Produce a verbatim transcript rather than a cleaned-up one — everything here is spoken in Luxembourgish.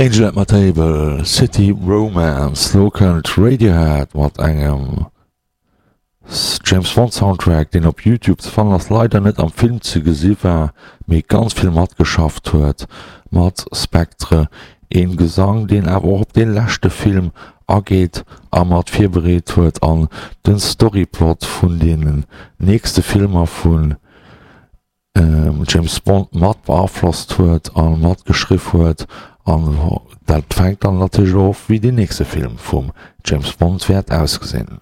Angel at My Table, City Romance. Lo kënnt Radiohead mat engem James Bond Soundtrack, deen op YouTube ze fannen ass, leider net am Film ze gesi war, mee ganz vill matgeschafft huet mat Spectre. Een Gesang, deen awer och op dee leschte Film ageet a mat virbereet huet an den Storyplot vun deenen nächste Filmer vun James Bond mat beaflosst huet a mat geschriff huet an dat fänkt dann natierlech of wéi deen nächste Film vum James Bond wäert ausgesinn.